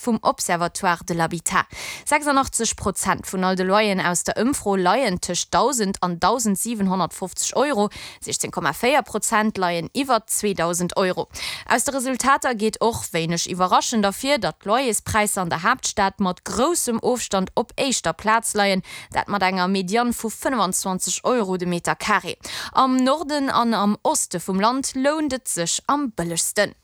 Vum Observatoire de l'habitat. 86 Prozent vun all de Loyeren aus der Ëmfro leien tëscht 1.000 an 1.750 Euro, 16,4 Prozent leien iwwer 2.000 Euro. Aus de Resultater geet och, wéineg iwwerraschend, ervir, datt d'Loyerspräisser an der Haaptstad mat groussem Ofstand op éischter Plaz leien, dat mat enger Medianne vu 25 Euro de Meter Carré. Am Norden an am Oste vum Land lount et sech am bëllegsten.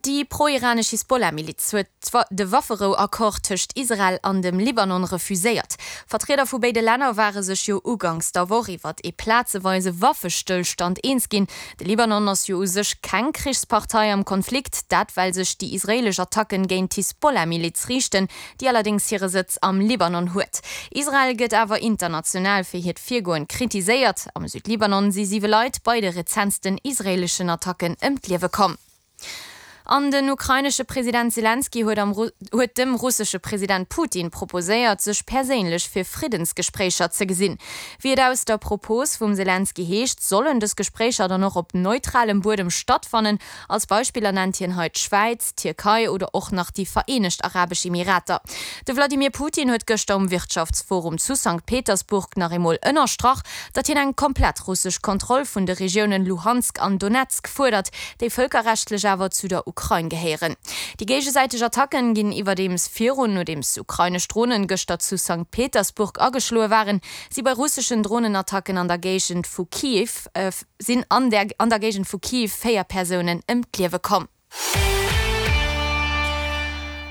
Déi pro-iranesch Hisbollah-Miliz huet de Wafferou-Accord tëscht Israel an dem Libanon refuséiert. Vertrieder vu béide Länner ware sech jo uganks der Woch iwwert ee plazeweise Waffestëllstand eens ginn. De Libanon ass jo u sech keng Krichspartei am Konflikt, dat well sech déi israeelesch Attacken géint d'Hisbollah-Miliz riichten, déi allerdéngs hire Sëtz am Libanon huet. Israel gëtt awer international fir hiert Virgoen kritiséiert. Am Südlibanon si siwe Leit bei de rezentsten israeeleschen Attacken ëm d'Liewe komm. An den ukrainesche President Selenskyj huet am huet dem russesche President Putin proposéiert, sech perséinlech fir Friddensgespréicher ze gesinn. Wéi et aus der Propos vum Selenskyj heescht, sollen dës Gespréicher dann och op neutralem Buedem stattfannen. Als Beispiller nennt hien hei d'Schwäiz, d'Tierkei oder och nach déi Vereenegt Arabesch Emirater. De Wladimir Putin huet gëschter um Wirtschaftsforum zu Sankt Petersburg nach eemol ënnerstrach, datt hien eng komplett russesch Kontroll vun de Regiounen Luhansk an Donezk fuerdert, déi vëlkerrechtlech awer zu der Ukrain gehéieren. Déi géigesäiteg Attacken ginn iwwerdeems virun, nodeems ukrainesch Dronen gëschter zu Sankt Petersburg ageschloe waren, si bei russeschen Dronenattacken an der Géigend vu Kiew sinn an der an der Géigend vu Kiew 4 Persounen ëm d'Liewe komm.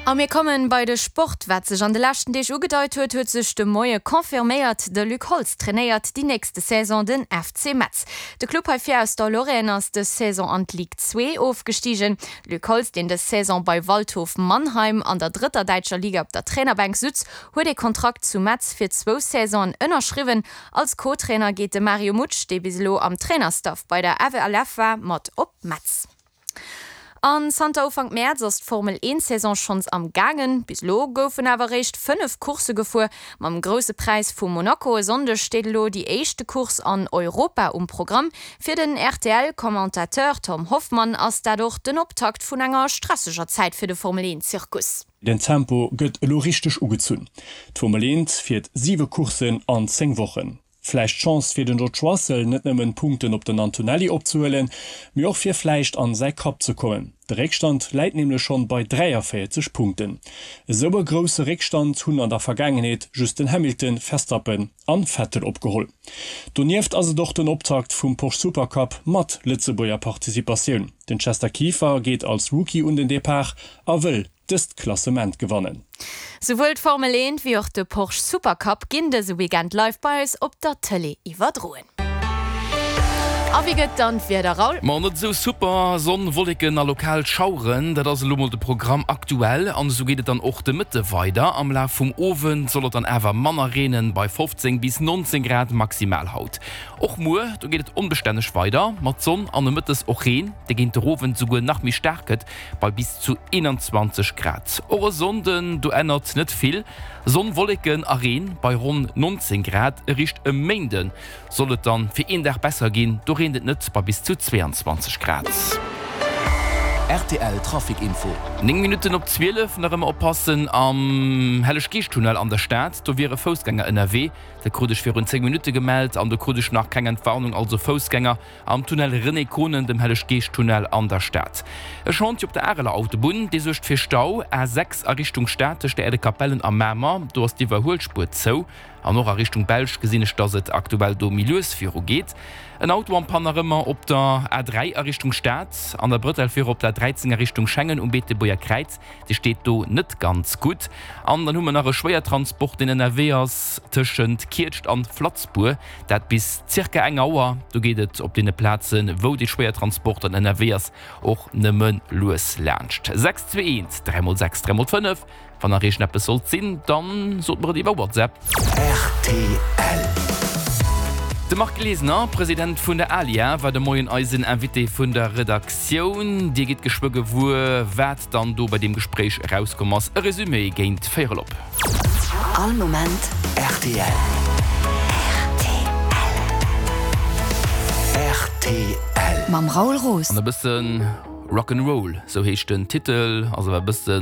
A mir kommen bei de Sport. Wat sech an de leschten Deeg ugedeit huet, huet sech de Moie confirméiert, De Luc Holtz trainéiert déi nächste Saison den FC Metz. De Club hei vir aus der Lorraine ass dës Saison an d'Ligue 2 ofgestigen. De Luc Holtz, deen dës Saison bei Waldhof Mannheim an der drëtter däitscher Liga op der Trainerbänk sutz, huet ee Kontrakt zu Metz fir zwou Saisonen ënnerschriwwen. Als Co-Trainer geet de Mario Mutsch, dee bis elo am Trainerstaff bei der FLF war, mat op Metz. An zanter Ufank Mäerz ass d'Formel 1 Saison schonns am gaangen. Bis elo goufen awer eréischt 5 Coursse gefuer. Mam Grousse Präis vu Monaco e Sonndeg steet elo déi éischte Course an Europa um Programm. Fir den RTL-Commentateur Tom Hoffmann ass dat och den Optakt vun enger stresseger Zäit fir de Formel 1 Zirkus. Den Tempo gëtt elo richteg ugezunn. D'Formel 1 fiert 7 Courssen an 10 Wochen. Vläicht d'Chance fir den George Russell net nëmmen Punkten op den Antonelli opzehuelen, mee och fir vläicht an säi Kapp ze kommen. De Réckstand läit nämlech schonn bei 43 Punkten. Esou e grousse Réckstand hunn an der Vergaangenheet just den Hamilton, Verstappen an Vettel opgeholl. Donieft ass et och den Optakt vum Porsche Supercup mat Lëtzebuerger Participatioun. Den Chester Kieffer geet als Rookie un den Depart a wëll dëst Klassement gewannen. Souwuel d'Formel 1 wéi och de Porsche Supercup ginn dëse Weekend live bei eis op der Tëlee iwwerdroen. A wéi gëtt dann d'Wieder, Raoul? Ma net esou super, Sonn, Wolleken a lokal Schaueren, dat ass elo mol de Programm aktuell an esou geet et dann och de Mëtte weider. Am Laf vum Owend soll et dann awer manner reenen, bei 15 bis 19 Grad maximal haut. Och muer, do geet et onbestänneg weider mat Sonn an nomëttes och Reen, dee géint de Owend souguer nach méi staark gëtt, bei bis zu 21 Grad. Och e Sonnden, do ännert net vill, Sonn, Wolleken a Reen bei ronn 19 Grad. Eréischt e Méinde soll et dann fir een Dag besser ginn, do reent et net bei bis zu 22 Grad. Rtl Trafic Info. 9 Minutten op 12, nach ëmmer oppassen am Helleg-Geescht-Tunnel an der Stad, do wiere Foussgänger ënnerwee. Dat krut ech virun 10 Minutte gemellt an do krut ech nach keng Entwarnung. Also Foussgänger Am Tunnel René Konen, dem Helleg-Geescht-Tunnel an der Stad. E Chantier op der Areler Autobunn, dee suergt fir Stau, A 6 a Richtung Stad tëscht der Aire de Capellen a Mamer, do ass d'Iwwerhuelspuer zou. An och a Richtung Belsch gesinn ech, dass et aktuell do méi lues viru geet. En Auto en panne nach ëmmer op der A 3 a Richtung Stad, an der Brëtell fir op der 13 a Richtung Schengen um Beetebuerger Kräiz, dee steet do net ganz gutt. An dann hu mer nach e Schwéiertransport, deen ënnerwee ass tëschent Kietscht an Flatzbour. Dat bis zirka eng Auer. Do geet et op deene Plazen, wou dee Schwéiertransport dann ënnerwee ass, och nëmme lues laanscht. 6 2 1 3 mol 6 3 mol 5. Wann nach iergendeppes sollt sinn, dann sot mer et iwwer WhatsApp. Rtl. De Marc Glesener, President vun der ALIA, war de Moien eisen Invité vun der Redaktioun. Dir gitt geschwë gewuer, wat dann do bei deem Gespréich erauskomm ass. E Resumé géint véierel op. All Moment rtl. Rtl. Mam Raoul Roos. An e bësse. Rock 'n' Roll, sou heescht den Titel, ass awer e bëssen.